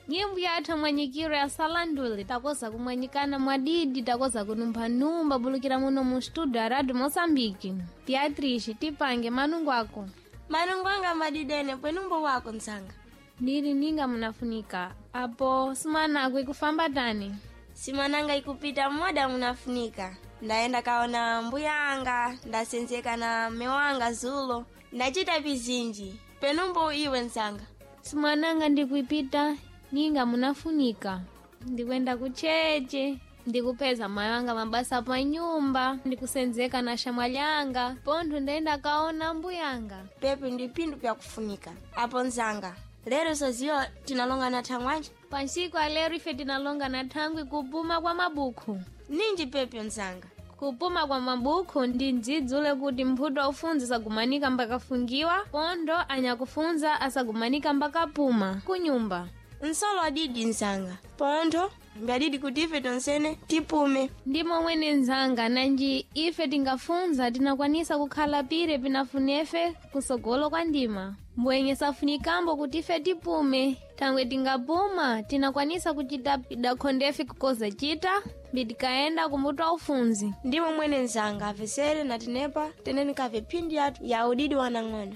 Nyimbo yathu mwanyikiro ya salandule takoza kumwanyikana mwadidi, takoza kunumphanumba bulukira muno mu studio ya Radio Moçambique. Beatrice, tipange manungu ako. Manungu anga madidene pwenumbo wako nzanga. Ndili ninga munafunika apo simanako ikufamba tani? Simananga ikupita mmoda munafunika. Ndaenda kaona mbuya anga, ndasenzeka na mme wanga zulo, ndachita vizinji. Penumbo iwe nzanga. Simananga ndikuipita ninga munafunika, ndikwenda kucheche, ndikupeza mayi wanga mabasa pa nyumba, ndikusenzeka na shamwalyanga, pontho ndaenda kaona mbuyanga. Pepi ndi phindu pyakufunika. Apo nzanga, lero soziwa tinalonga na thangwanji? Pansiku alero ife tinalonga na thangwi kupuma kwa mabukhu. Ninji pepyo nzanga. Kupuma kwa mabukhu ndi ndzidzule kuti mphuto aufunza asagumanika mbakafungiwa, pontho anyakufunza asagumanika mbakapuma kunyumba. Nsolo adidi nzanga. Pontho mbyadidi kuti ife tonsene tipume. Ndi momwene nzanga, nanji ife tingafunza tinakwanisa kukhala pire pinafunefe kusogolo kwa ndima. Mbwenye safunikambo kuti ife tipume, thangwe tingapuma tinakwanisa kuchita pidakhondefe kukoza chita mbitikaenda kumbuto aufunzi. Ndi momwene nzanga, avesere na tinepa teneni kave phindi yathu ya udidi wanang'ono.